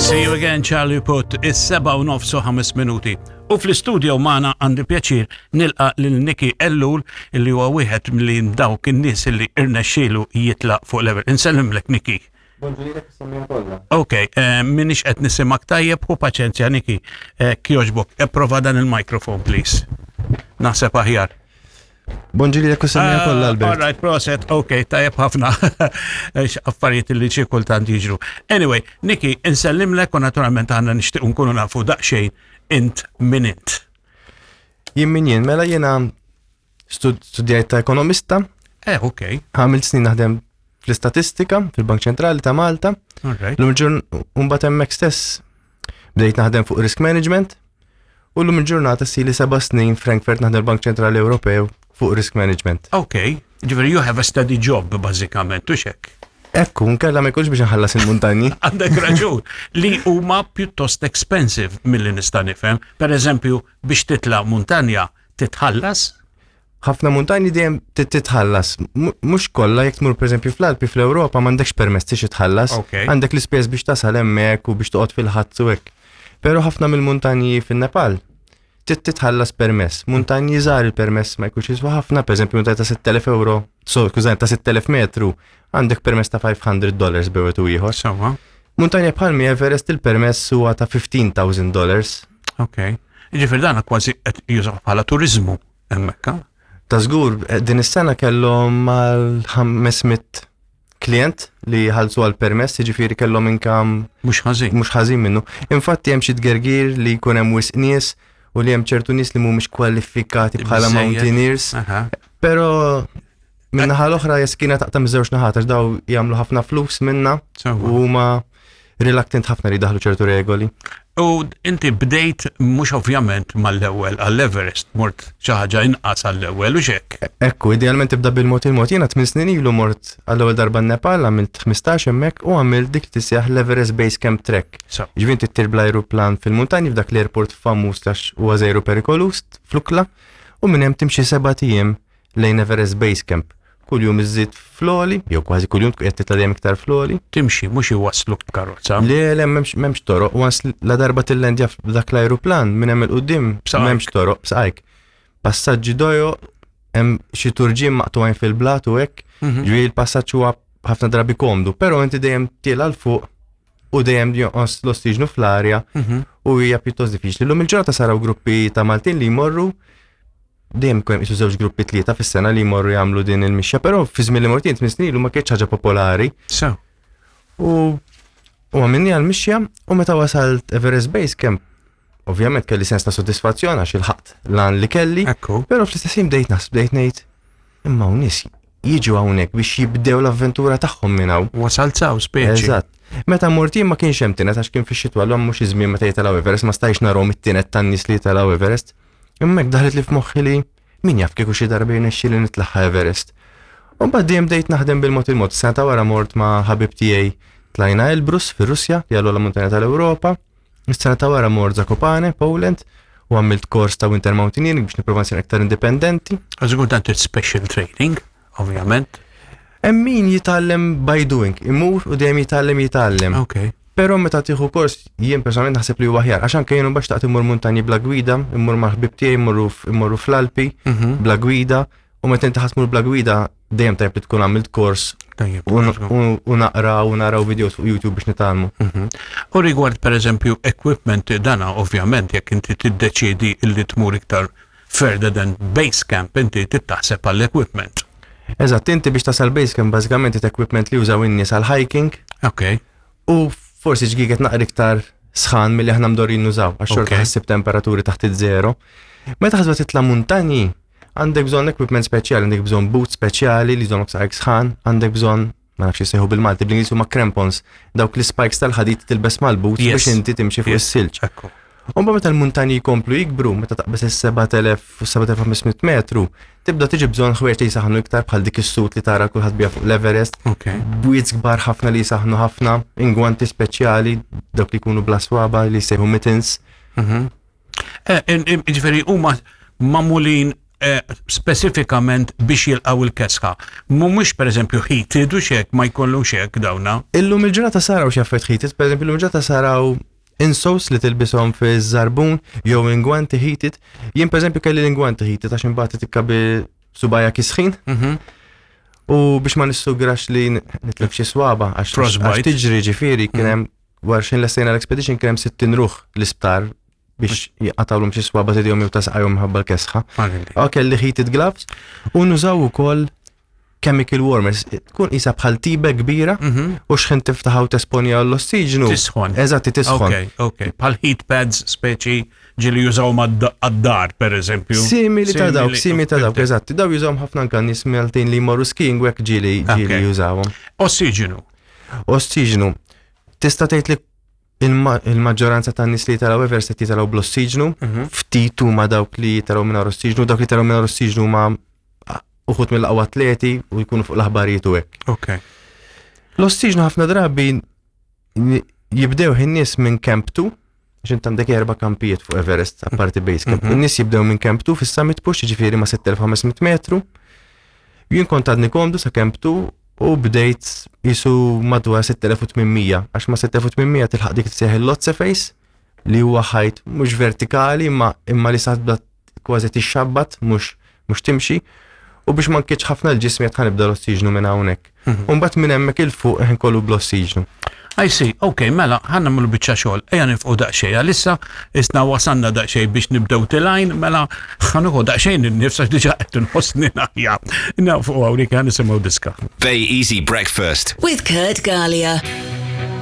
See you again, Charlie Puth, is-seba u nofs u ħames minuti. U fl-istudio magħna għandi pjaċir nilqa lil Niki Ellul illi huwa wieħed minn dawk in-nies illi irnexxielu jitlaq fuq level. Insellimlek Niki. Bonġu is-semmiegħa kollha. Ok, eh, minix qed nisimak tajjeb, hu paċenzja Niki. Eh, Kjoġbok, prova dan il-mikrofon, please. Naħseb aħjar. Bonġu lilek u semmiegħa kollha Ah, Albert. All right, proset, ok, tajjeb ħafna. X Affarijiet li xi kultant jiġru. Anyway, Niki, insellimlek u naturalment aħna nixtieq nkunu nafu daqsxejn int min int. Jien min jien, mela jiena stud- studjajt ta' ekonomista, Eh, ok, għamilt snin naħdem fl-istatistika fil-Bank Ċentrali ta' Malta. all right. Lum il-ġurn mbagħad hemmhekk stess bdejt naħdem fuq risk management u lum il-ġurnata sili seba' snin Frankfurt naħdem Bank Ċentrali Ewropew fuq risk management. Ok, ġifieri you have a steady job bażikament, u xek. Ekku, nkella ma jkunx biex nħallas il-muntanji. Għandek raġun li huma pjuttost expensive milli nista' nifhem. Per eżempju, biex titla' muntanja titħallas? ħafna muntanji dejjem titħallas. Mhux kollha jekk tmur pereżempju fl-Alpi fl-Ewropa m'għandekx permess tix titħallas. Għandek l-ispejjeż biex tasal hemmhekk u biex toqgħod fil-ħadd u hekk. Però ħafna mill-muntanji fin-Nepal trid titħallas permess. Muntanji żgħar il-permess ma jkunx jiswa ħafna, pereżempju muntanja ta' 6000 euro, so skużani ta' 6000 metru, għandek permess ta' 500 dollars bejn u ieħor. Sewwa. Muntanja bħal mi Everest il-permess huwa ta' 15,000 dollars. Ok. Ġifieri dan kważi qed jużaw bħala turiżmu hemmhekk. ha? Ta' żgur, eh, din is-sena kellhom mal-500 klient li ħalsu għal permess, jiġifieri kellhom income Mhux ħażin. mhux ħażin minnu. Infatti hemm xi tgergir li jkun hemm wisq nies u li hemm ċertu nies li mhumiex kwalifikati bħala Biżżejjed. mountaineers. Aha. Però min-naħa l-oħra jeskina taqta' miż-żewġ naħat għax daw jagħmlu ħafna flus minna Sewwa. u huma reluctant ħafna li jdaħlu ċertu regoli. U inti bdejt mhux ovvjament mal-ewwel għall-Everest, mort xi ħaġa inqas għall-ewwel u xek. Ekku, idealment tibda bil-mod il-mod. Jiena 8 snin ilu mort għall-ewwel darba n-Nepal, għamilt 15 hemmhekk u għamilt dik li tissejjaħ l-Everest Base Camp Trek. So, Ġifieri inti ttir bl-ajruplan fil-muntanji f'dak l-airport famuż għax huwa żejru perikolus f'Lukla u minn hemm timxi seba' ijiem lejn Everest Base Camp. Kuljum iżżid fl-għoli, jew kważi kuljum tkun qed titla' dejjem iktar fl-għoli. timxi mhux iwassluk b'karozza. Le, le, m'hemmx m'hemmx toroq, once la darba tillendja f'dak l-ajruplan minn hemm 'il quddiem B'saqajk. m'hemmx toroq b'saqajk. Passaġġi dojo, hemm xi turġien maqtugħin fil-blat u hekk, Mhm. ġifieri l-passaġġ huwa ħafna drabi komdu, però inti dejjem tiela 'l fuq u dejjem jonqos l-ossiġnu fl-arja Mhm. u hija pjuttost diffiċli. Lum il-ġurnata saraw gruppi ta' Maltin li jmorru dejjem kien qisu żewġ gruppi tlieta fis-sena li jmorru jagħmlu din il-mixja, però fi żmien li mort jien tmien snin ilu ma kienx ħaġa popolari. So, U u għamilni għal-mixja u meta wasalt Everest Base Camp, ovvjament kelli sens ta' soddisfazzjon għax ilħaqt l-għan li kelli, ekku. però fl-istess ħin bdejt naħseb bdejt ngħid imma hawn nies jiġu hawnhekk biex jibdew l-avventura tagħhom minn hawn. Wasalt saw speċi. Eżatt. Meta mort jien ma kienx hemm tinet għax kien fix-xitwa l mhux iż-żmien meta jitilgħu Everest, ma stajx narahom it-tinet tan-nies li jitilgħu Everest. Imma hekk daħlet li f'moħħi li min jaf kieku xi darba jirnexxieli nitlagħha Everest. U mbagħad dejjem bdejt naħdem bil-mod il-mod. Sena ta' wara mort ma' ħabib tiegħi tlajna Elbrus fir-Russja, li għal muntanja tal-Ewropa. Is-sena ta' wara mort Zakopane, Poland, u għamilt kors ta' Winter Mountaineering biex nipprova nsir aktar indipendenti. Għażgur dan trid special training, ovvjament. Hemm min jitgħallem by doing, imur u dejjem jitgħallem jitgħallem. Ok. Però meta tieħu kors jien personalment naħseb li huwa aħjar għax anke jien mbagħad xtaqt immur muntanji bla gwida, immur mal-ħbieb tiegħi immorru immorru fl-Alpi Mhm. bla gwida u meta inti ħa tmur bla gwida dejjem tajjeb li tkun għamilt kors Tajjeb. u u- u naqra u naraw videos fuq YouTube biex nitgħallmu. Mhm. U rigward per eżempju equipment dana ovvjament jekk inti tiddeċiedi illi tmur iktar further than base camp inti tittaħseb għall-equipment. Eżatt, inti biex tasal base camp bażikament it-equipment li jużaw in-nies għal hiking Ok. u forsi ġgiget naqra iktar sħan milli aħna mdorin nużaw, għax xorta Ok. ħassib temperaturi taħt iż-żero. Meta ħasba titla' muntanji, għandek bżonn equipment speċjali, għandek bżonn boots speċjali li jżommok saqajk sħan, għandek bżonn ma nafx jissejħu bil-Malti, bl-Ingliż huma crampons, dawk li spikes tal-ħadid tilbes mal-boots Yes. biex inti timxi fuq Yes. is-silġ. Ekku. U mbagħad meta l-muntanji jkomplu jikbru, meta taqbeż is-7000 u 7500 metru, tibda tiġi bżonn ħwejjeġ li jisaħnu iktar bħal dik is-sut li tara kulħadd biha fuq l-Everest, Ok. bwiet kbar ħafna li jisaħnu ħafna, ingwanti speċjali, dawk li jkunu bla swaba li jsejħu mittens. Mhm. Eh, Ġifieri huma magħmulin eh, speċifikament biex jilqgħu il-kesħa. Mhumiex pereżempju heated u xek ma jkollux hekk dawna. Illum il-ġurnata saraw xi affarijiet heated, pereżempju illum il-ġurnata saraw insoles li tilbishom fi żarbun jew ingwanti heated. Jien pereżempju kelli l-ingwanti heated għax imbagħad tikka bi subajja kisħin. Mhm. U biex ma nissugrax li nitlef xi swaba għax tiġri ġifieri kien hemm wara xejn lestejna l-expedition kien hemm 60 ruħ l-isptar biex jqatawlhom xi swaba tidihom jew ta' saqajhom minħabba l-kesħa. Kelli heated gloves u nużaw ukoll chemical warmers. Tkun isa bħal tibe kbira mhm. u xħin tiftaħaw tesponja l-ossiġnu. Tisħon. Eżatti, tisħon. Ok, ok. Bħal heat pads speċi ġili jużaw mad-dar, per eżempju. Simili ta' dawk, simili ta' dawk, eżatti. Daw jużawhom ħafna anka nies Maltin li jmorru skiing u hekk ġili ġili jużawhom. Ossiġnu. Ossiġnu. Tista' tgħid li il-maġġoranza tan nies li jitilgħu Everest qed jitilgħu bl-ossiġnu, mhm. ftit huma dawk li jitilgħu mingħajr ossiġnu, dawk li jitilgħu mingħajr ossiġnu huma uħud mill-aqwa atleti u jkunu fuq l-aħbarijiet u hekk. Ok. L-ossiġnu ħafna drabi jibdew in-nies minn Camp 2, għax int għandek erba' kampijiet fuq Everest, apparti base camp. Mhm. In-nies jibdew minn Camp 2 fis-summit push, ġifieri ma' 6500 metru. Jien kont għadni komdu sa Camp 2 u bdejt jisu madwar 6800, għax ma' 6800 tilħaq dik tseħ il-Lotse Face li huwa ħajt mhux vertikali imma imma li sa tibda kważi tixxabbat mhux mhux timxi u biex ma nkiċ ħafna l-ġismi qed ħanibda l-ossiġnu minn hawnhekk. Mhm. U mbagħad minn hemmhekk il fuq ħin kollu bl-ossiġnu. I see, ok, mela, ħa nagħmlu biċċa xogħol, ejja nifqu daqsxejn, għalissa isna wasanna daqsxejn biex nibdew tilajn, mela ħa nieħu daqsxejn in-nifs għax diġà qed inħossni naħja. Nafu hawnhekk ħa nisimgħu diska. Bay Easy Breakfast. With Kurt Galea.